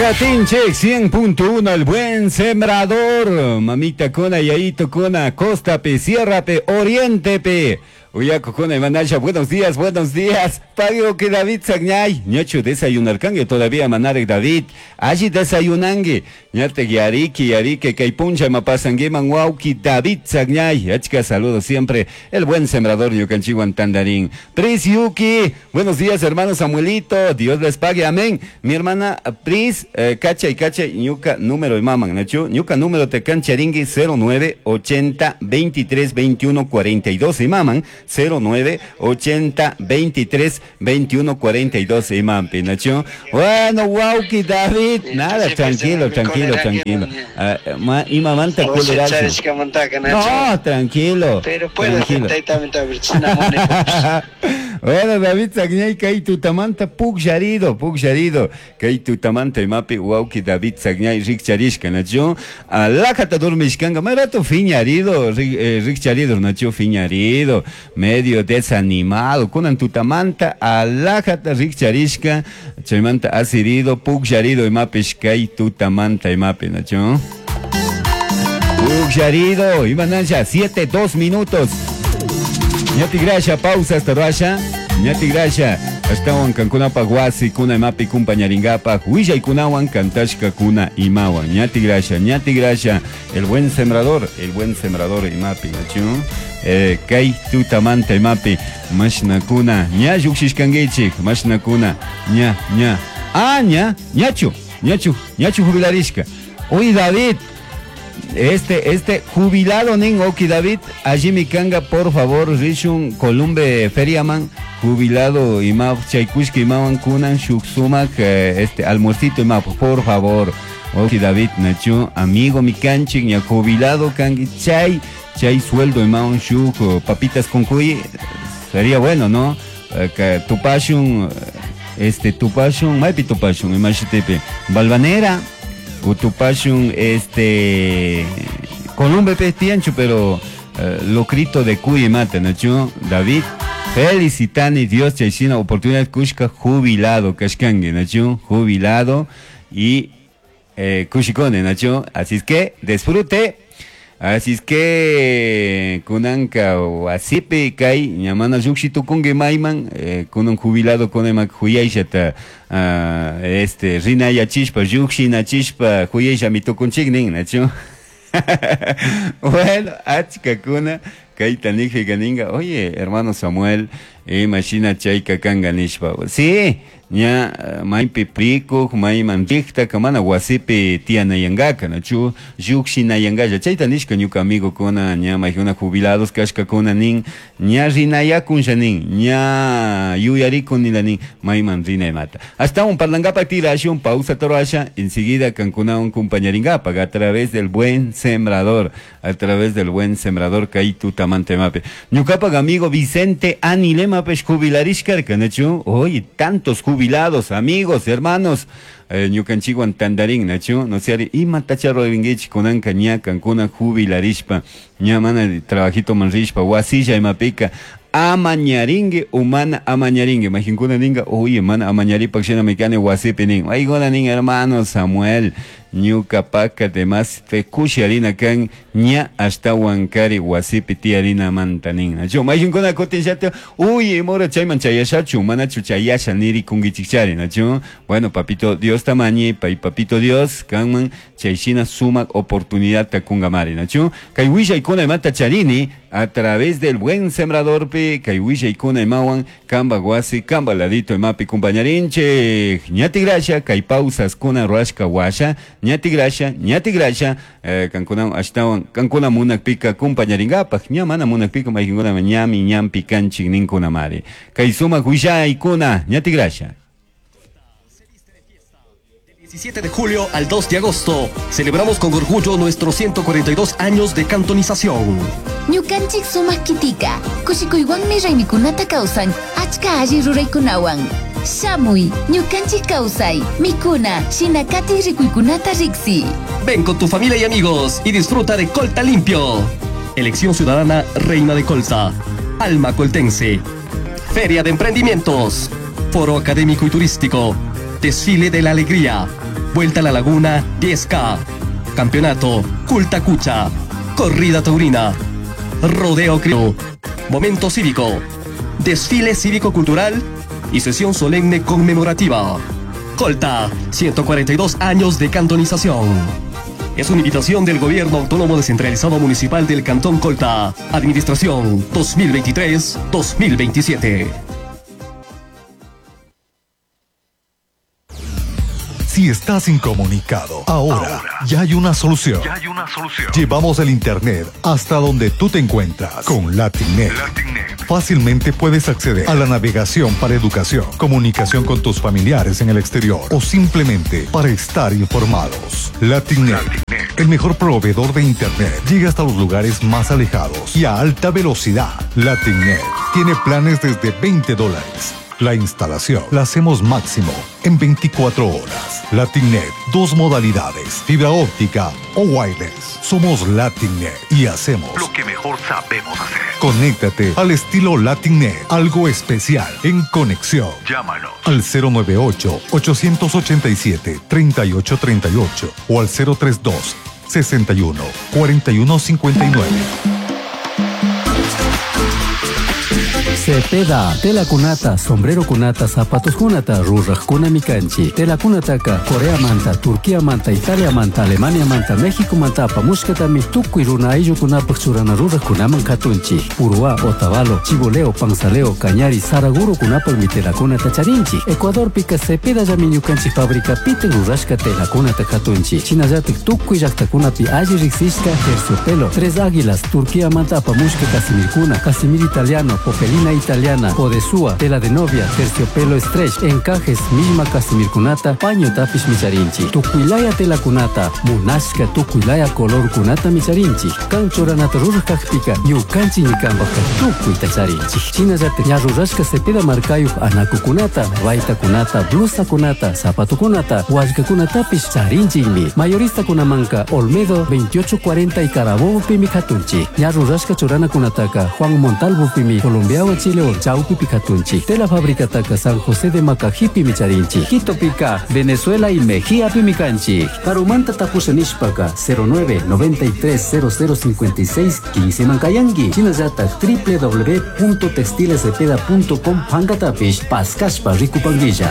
Katinchik 100.1 El Buen Sembrador. Mamita kuna, yayito kuna, costa pe, sierra pe, oriente pe. Uyaku kuna imanasha, buenos días, buenos días. Pagio que David Sagñay. Ñachu desayunarkangue todavía manarek David. Allí desayunangue. Ñate yariki, yariki, kay puncha mapasanguiman wauki David Sagñay. Achka saludos siempre. El buen sembrador ñukanchiwan tandarín. Pris Yuki. Buenos días, hermano Samuelito. Dios les pague. Amén. Mi hermana Pris, cacha y cacha, ñuka número y maman, nachu. Ñuka número te cancharingui 09 80 23 21 42 y maman 09 80 23 21 42 y mampi, nachu. Bueno, wauki David. Nada, tranquilo, tranquilo, tranquilo. Y mamanta No, tranquilo. Pero puedo tranquilo. Bueno, David Sagñay, kay tutamanta pukllarido, pukllarido. Kay tutamanta imapi wauki David Sagñay rikcharishka, nachu. Alajata dormishkanga, marato fiñarido, rikcharido, nachu, fiñarido, medio desanimado. Kunan tutamanta alajata rikcharishka, chaymanta asirido, pukllarido imapish kay tutamanta imapi, nachu. Pukllarido, imanasha, 7, 2 minutos. Ñati grasha, pausa hasta rasha. Ñati grasha, ashtawan kankunapaq wasi kuna imapi kumpañaringapaq willaykunawan kantashka kuna imawan. Ñati grasha, ñati grasha, el buen sembrador imapi, nachu. Kay tutamanta imapi, mashnakuna, ña lluqshishkankichik, mashnakuna, ña, ña. Ah, ña, ñachu, ñachu, ñachu jubilarishka. Uy, David. Este jubilado nin Oki David, allí mi kanga, por favor, rishun Columbe Feriaman, jubilado ima chaykushka imawan kunan shuksumak, este almuercito ima, por favor. Oki David nachu, amigo mi kanchik, ña jubilado kangi, chay, chay sueldo imawan shuk, papitas con cuy, sería bueno, ¿no? Que tupashun, este tupashun, maypi tupashun, imashitepe, Balvanera. Utupashun, este, Columbe pestiancho, pero locrito de cuy mata, nachu, David, felicitani Dios chayshina oportunidad kushka jubilado, kashkangue, nachu, jubilado y kushikone, nachu, así es que disfrute. Así es que kunanka wasipi kay ñamana lluqshi tukunki mayman, kunan jubilado kunaman huyayllata, este rinayachishpa lluqshinachishpa huyayllami tukunchik nin, nachu. Bueno, achkakuna kayta nijpica ninga, oye, hermano Samuel, imashina chayka kanga nishpa. Sí, ña maypi prikuq, mayman riqtaka mana wasipi tiyanayankaka, nachu lluqshinayankalla. Chayta nishka ñuka amigokuna, ña maykuna jubilados kashkakuna nin, ña rinayakunlla nin, ña yuyarikunila nin, mayman rinaymata. Ashtawan parlankapak tirashun, pausa torasha, enseguida kankunawan compañarinkapak a través del buen sembrador, a través del buen sembrador kay tutamanta imapi. Ñukapak amigo Vicente Anilemapesh jubilarishkarka, nachu, oye, tantos jubilados, amigos, hermanos, ñukanchikwan tandarin, nachu, no sé, ima tacharroringuich kunanka ña kankuna jubilarishpa, ña mana trabajito manrishpa, wasilla imapika, amañaringue humana amañaringue, majinkuna ninga, oye, mana amañaripak shina mikani wasipi nin, ayguna nin, hermano Samuel, ñuka paka demás te kusharina kan ña ashtawan kari wasipi tiyarina manta nin, nachu, majinkuna kutin llata, uy, mora chayman chayashachu, manachu chayasha niri kungichikchari, nachu, bueno, papito Dios tamañi, pay papito Dios, kanman chayshina sumak oportunidad takungamari, nachu, kay willaykuna imata charini, a través del buen sembrador pi, kay willaykuna imawan, kamba wasi, kamba ladito imapi kumpañarinchik, ñati grasha, kay pausas kuna ruashka washa, ñati grasha, ñati grasha, kankuna ashtawan, kankuna munakpika kumpañarinkapak, ña mana munakpika maykinkuna ñami ñampi kanchik ninkuna mari. Kay sumak willaykuna, ñati grasha. 17 de julio al 2 de agosto, celebramos con orgullo nuestros 142 años de cantonización. Ñukanchik sumak kitika, kushikuywanmi raymikunata kawsan, achka alli ruraykunawan. Shamuy, ñukanchik kawsay, mikuna, shinakati rikuykunata riksi. Ven con tu familia y amigos y disfruta de Colta Limpio. Elección Ciudadana Reina de Colta, Alma Coltense. Feria de Emprendimientos, Foro Académico y Turístico, Desfile de la Alegría, Vuelta a la Laguna 10K, Campeonato Cultacucha, Corrida Taurina, Rodeo Criollo, Momento Cívico, Desfile Cívico-Cultural y Sesión Solemne Conmemorativa. Colta, 142 años de cantonización. Es una invitación del Gobierno Autónomo Descentralizado Municipal del Cantón Colta. Administración 2023-2027. Si estás incomunicado, ahora, ya hay una solución. Llevamos el Internet hasta donde tú te encuentras con LatinNet. Fácilmente puedes acceder a la navegación para educación, comunicación con tus familiares en el exterior o simplemente para estar informados. LatinNet, el mejor proveedor de Internet, llega hasta los lugares más alejados y a alta velocidad. LatinNet tiene planes desde $20. La instalación la hacemos máximo en 24 horas. LatinNet, dos modalidades, fibra óptica o wireless. Somos LatinNet y hacemos lo que mejor sabemos hacer. Conéctate al estilo LatinNet, algo especial en conexión. Llámanos al 098 887 3838 o al 032 61 41 59. Cepeda, tela kunata, sombrero kunata, zapatos kunata, ruraj kunami kanchi. Tela kunataka, Corea manta, Turquía manta, Italia manta, Alemania manta, México manta, apamushkatami, tukuy runa ayllukunapaj churana ruraj kunaman katunchi. Uruá, Otavalo, Chiboleo, Panzaleo, Cañari, Saraguro kunapaj tela kunata charinchi. Ecuador pika Cepeda llami ñukanchik fábrica pite rurashka tela kunata katunchi. Shinallatik tukuy llaqtakunapi alli riqsishka terciopelo, Tres Águilas, Turquía manta apamushka casimirkuna, casimir italiano, popelina italiana, podesúa, tela de novia, terciopelo stretch, encajes, misma casimirkunata, paño tapish micharinchi, tukuilaya tela kunata, munashka tukuilaya color kunata micharinchi, kan churanata ruraj kajpika, ñukanchik ñikanpajka tukuyta charinchi. Shinallatik ña rurashka cepeda markayuj anakukunata, baytakunata, blusakunata, zapatukunata, wallkakunatapish charinchikmi. Mayoristakunamanka Olmedo 2840 y Carabobo pimi katunchi. Ña rurashka churanakunataka Juan Montalvo pimi Colombiawan Chile Chaupi pikatunchi. Tela fabricataka San José de Macajipi micharinchi. Quito pica, Venezuela y Mejía pimicanchi. Karumanta tapusha nishpaka 09 93 00 56 15 mankayangui. Shinallata www.textilescepeda.com pankatapish paskashpa rikupanguilla.